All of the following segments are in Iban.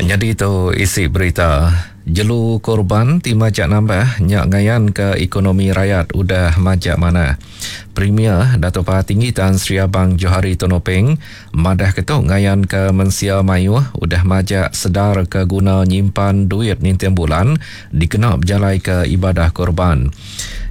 Nyadi tu isi berita. Jelu korban ti majak nambah nya ngayanka ekonomi rayat udah majak manah. Premier Datuk Patinggi Tan Sri Abang Johari Tun Openg madahka tu ngayanka mensia mayuh udah majak sedar ke guna nyimpan duit ninting bulan dikena bejalaika ibadah korban.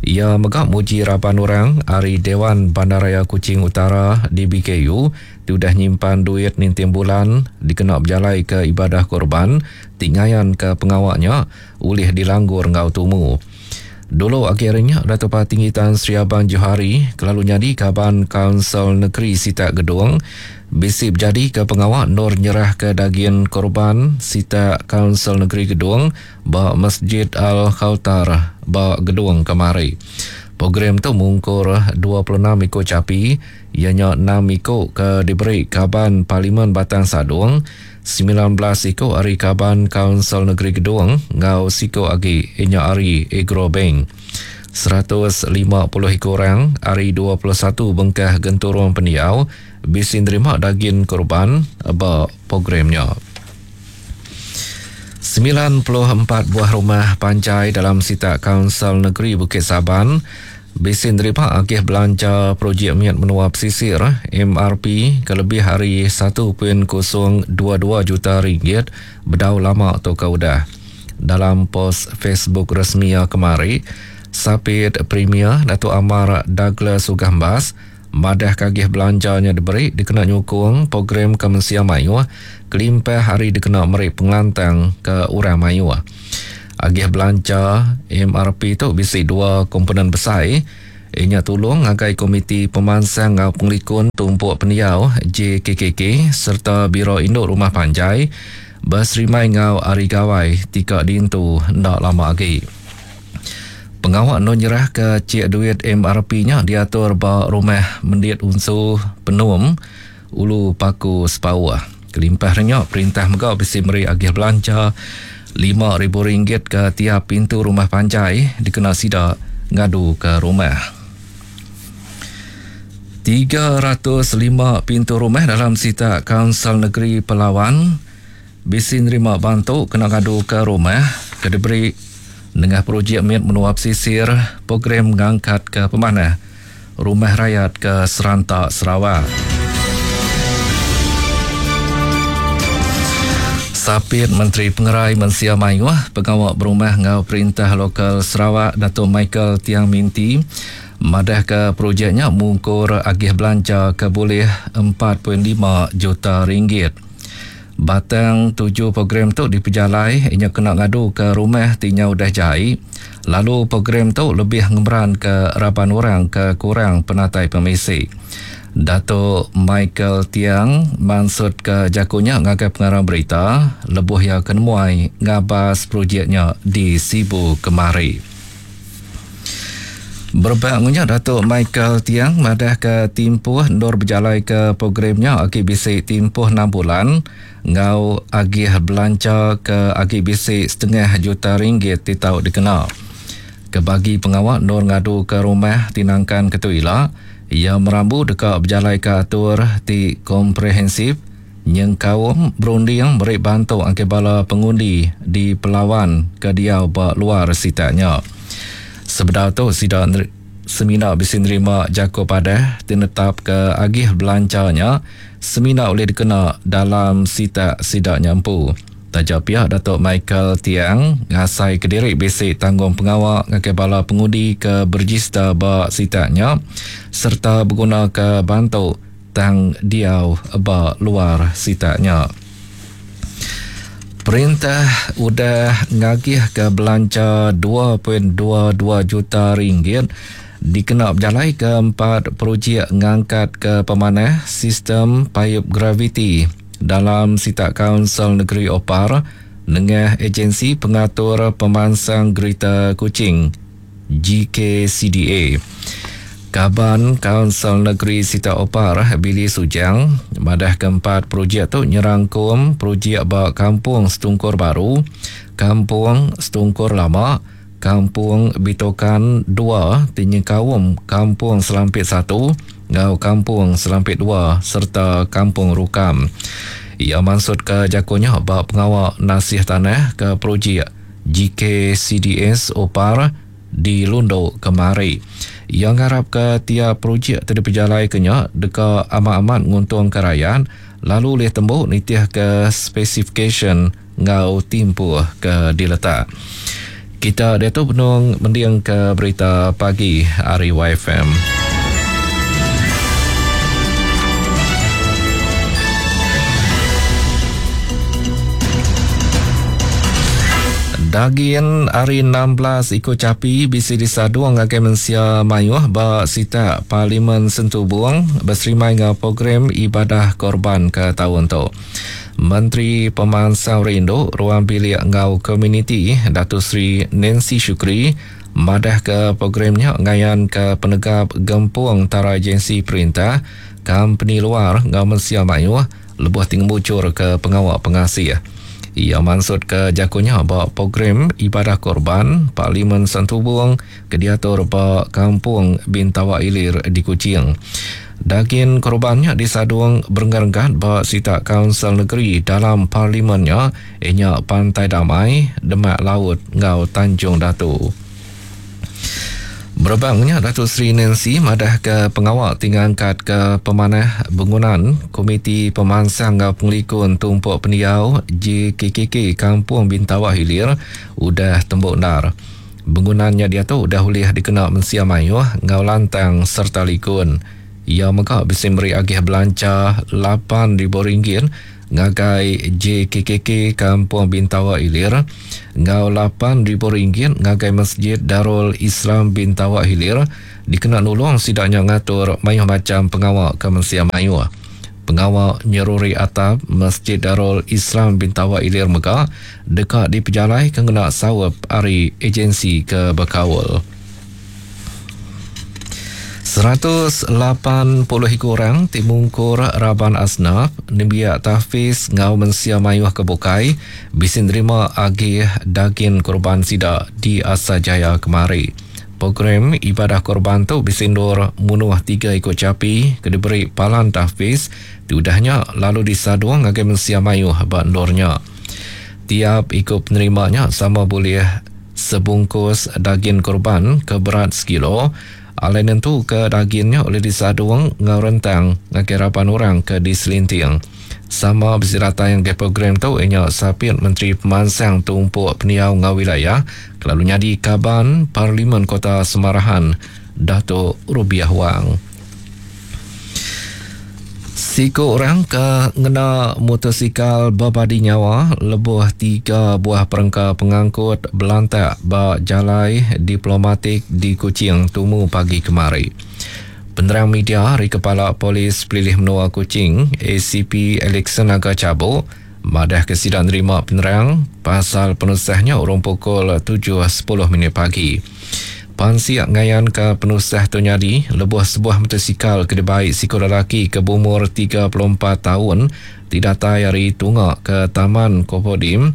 Iya mega muji raban orang ari Dewan Bandaraya Kuching Utara, DBKU, ti udah nyimpan duit ninting bulan dikena bejalaika ibadah korban ti ngayanka pengawa nya ulih dilanggur enggau tumu. Dulu agi ari nya, Datuk Patinggi Tan Sri Abang Johari ke lalu nyadi kaban Kaunsil Negeri Sitak Gedong bisi bejadika pengawa endur nyerahka dagin korban sitak Kaunsil Negeri Gedong ba Masjid Al-Kauthar ba Gedong kemari. Program tu mungkur 26 iku chapi iya nya enam iku ke diberi Kaban Parlimen Batang Sadong, 19 iku ari Kaban Kaunsil Negeri Gedong enggau siku agi iya nya ari Agrobank. 150 iku orang ari 21 bengkah genturung pendiau bisi nerima dagin korban ba program nya. 94 buah rumah panjai dalam sitak Kaunsil Negeri Bukit Saban bisi nerima agih belanja projek mit menua pesisir, MRP, ke lebih ari 1.022 juta ringgit bedau lama tu ke udah. Dalam pos Facebook resmi iya kemari, Sapit Premier Datuk Amar Douglas Uggah Embas madahka agih belanja nya diberi dikena nyukung program ke mensia mayuh kelimpah ari dikena meri pengelantang ke orang mayuh. Agih belanja MRP tu bisi dua komponen besai iya nya tulung ngagai Komiti Pemansang enggau Pengelikun Tumpuk Pendiau, JKKK, sereta Biro Indu Rumah Panjai beserimbai enggau Hari Gawai ti ka diintu enda lama agi. Pengawa endur nyerahka chek duit MRP nya diatur ba Rumah Mendit Unsu Penum, Ulu Paku Sepauh. Kelimpah ari nya, perintah mega bisi meri agih belanja RM5,000 ke tiap pintu rumah panjai dikena sida ngaduka rumah. 305 pintu rumah dalam sitak Kaunsil Negeri Pelawan bisi nerima bantu kena ngaduka rumah ke diberi nengah projek mit menua pesisir program ngangkatka pemanah rumah rayat ke seranta Sarawak. Sapit Menteri Pengerai Mensia Mayuh, Pengawa Berumah enggau Perintah Lokal Sarawak Datuk Michael Tiang Minti madahka projek nya mungkur agih belanja ke bulih 4.5 juta ringgit. Batang tuju program tu dipejalai inya kena ngaduka rumah ti nyau udah jai lalu program tu lebih ngemeranka raban orang ke kurang penatai pemisi. Datuk Michael Tiang mansutka jaku nya ngagai pengarang berita lebuh iya ke nemuai ngabas projek nya di Sibu kemari. Berebak enggau nya, Datuk Michael Tiang madahka timpuh endur bejalaika program nya agi bisi timpuh enam bulan enggau agih belanja ke agi bisi setengah juta ringgit ti tau dikena. Ke bagi pengawa endur ngaduka rumah ti nangkan ke tu ila, iya merambu deka bejalaika atur ti komprehensif nyengkaum berunding meri bantu ngagai bala pengundi di Pelawan ke diau ba luar sitak nya. Sebedau tu sida semina bisi nerima jaku padah ti netapka agih belanja nya semina ulih dikena dalam sitak sida nya empu. Taja pia Datuk Michael Tiang ngasai kediri bisi tanggungpengawa ngagai bala pengundi ke berejista ba sitak nya sereta begunaka bantu tang diau ba luar sitak nya. Perintah udah ngagihka belanja 2.22 juta ringgit dikena bejalaika empat projek ngangkatka pemanah sistem paip graviti dalam sitak Kaunsil Negeri Opar nengah Ejensi Pengatur Pemansang Greater Kuching, GKCDA. Kaban Kaunsil Negeri Sitak Opar, Billy Sujang, madahka empat projek tu nyerangkum projek ba Kampung Setungkur Baru, Kampung Setungkur Lama, Kampung Bitokan dua ti nyengkaum Kampung Selampit satu enggau Kampung Selampit dua sereta Kampung Rukam. Iya mansutka jaku nya ba pengawa nasih tanah ke projek GKCDS Opar di Lundu kemari. Iya ngarapka tiap projek ti dipejalaika nya deka amat-amat nguntungka rayat lalu ulih tembu nitihka spesifikasyen enggau timpuh ke diletak. Kita diatu benung mendingka berita pagi ari YFM. Dagin ari 16 iku chapi bisi disadung ngagai mensia mayuh ba sitak Parlimen Sentubung beserimbai enggau program ibadah korban ke taun tu. Menteri Pemansang Rindu, Ruang Bilik enggau Komuniti Dato Sri Nancy Shukri madahka program nya ngayanka penegap gempung entara agensi perintah, kompeni luar enggau mensia mayuh lebuh ti ngemujurka pengawa pengasih. Iya mansutka jaku nya ba Program Ibadah Korban Parlimen Santubong ke diatur ba Kampung Bintawa Ilir di Kuching. Dagin korban nya disadung berenggat-renggat ba sitak Kaunsil Negeri dalam parlimen nya, iya nya Pantai Damai, Demak Laut enggau Tanjung Datu. Berebak nya, Datuk Seri Nancy madahka pengawa ti ngangkatka pemanah bengunan Komiti Pemansang enggau Pengelikun Tumpuk Pendiau JKKK Kampung Bintawa Hilir udah tembu endar. Bengunan nya diatu udah ulih dikena mensia mayuh enggau lantang sereta likun. Iya mega bisi meri agih belanja RM8,000 ngagai JKKK Kampung Bintawa Hilir enggau RM8,000 ngagai Masjid Darul Islam Bintawa Hilir dikena nulung sida nya ngatur mayuh macham pengawa ke mensia mayuh. Pengawa nyeruri atap Masjid Darul Islam Bintawa Ilir mega deka dipejalaika ngena saup ari ejensi ke bekaul. 180 iku orang ti mungkur raban asnaf, nembiak tahfiz enggau mensia mayuh ke bukai bisi nerima agih dagin korban sida di Asajaya kemari. Program ibadah korban tu bisi endur munuh tiga iku chapi ke diberi palan tahfiz ti udah nya lalu disadung ngagai mensia mayuh ba endur nya. Tiap iku penerima nya sama bulih sebungkus dagin korban ke berat sekilo alai nentuka dagin nya ulih disadung enggau rentang ngagai raban orang ke diselinting. Sama bisi datai ngagai program tu iya nya Sapit Menteri Pemansang Tumpuk Pendiau enggau Wilayah ke lalu nyadi Kaban Parlimen Kota Semarahan Datuk Rubiah Wang. Siku orang ke ngena mutosikal bebadi nyawa lebuh tiga buah perengka pengangkut belantak ba Jalai Diplomatik di Kuching tumu pagi kemari. Penerang media ari Kepala Polis Pelilih Menua Kuching, ACP Alexson Naga Chabok, madahka sida nerima penerang pasal penusah nya urung pukul 7.10 minit pagi. Pansik ngayanka penusah tu nyadi lebuh sebuah motosikal ke dibai siku lelaki ke beumur 34 taun ti datai ari tunga ke Taman Kopodim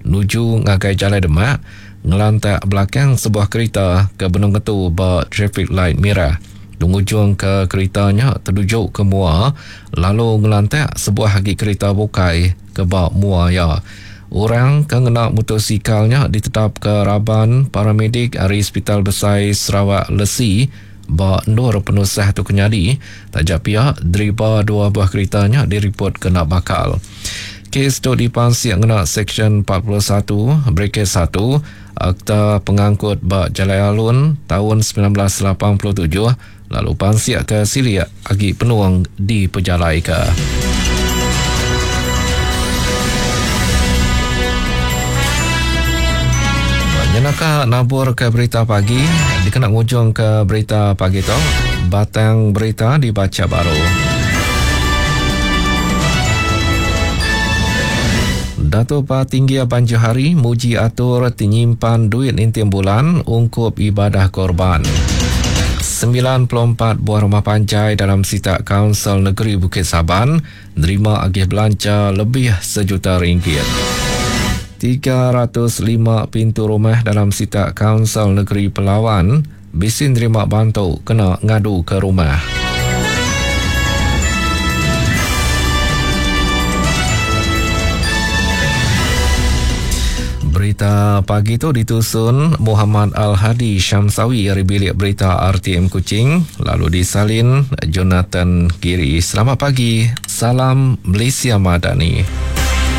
nuju ngagai Jalai Demak ngelantak belakang sebuah kerita ke benung ngetu ba traffic light mirah. Ngujungka kerita nya teduju ke mua lalu ngelantak sebuah agi kerita bukai ke ba mua iya. Orang ke ngena mutosikal nya ditetapka raban paramedik ari Sepital Besai Sarawak Lesi ba endur penusah tu ke nyadi. Taja pia, deriba dua buah kerita nya diripot kena bakal. Kes tu dipansik ngena Seksyen 41 Bracket satu Akta Pengangkut ba Jalai Alun taun 1987 lalu pansik ke silik agi penung dipejalaika. Nyenaka nabur ke berita pagi dikena ngujung ke berita pagi tu batang berita dibacha baru. Dato Patinggi Abang Johari muji atur ti nyimpan duit ninting bulan ungkup ibadah korban. 94 buah rumah panjai dalam sitak Kaunsil Negeri Bukit Saban nerima agih belanja lebih sejuta ringgit. 305 pintu rumah dalam sitak Kaunsil Negeri Pelawan bisi nerima bantu kena ngaduka rumah. Berita pagi tu ditusun Muhammad Al-Hadi Syamsawi ari Bilik Berita RTM Kuching lalu disalin Jonathan Giri. Selamat pagi, salam Malaysia Madani.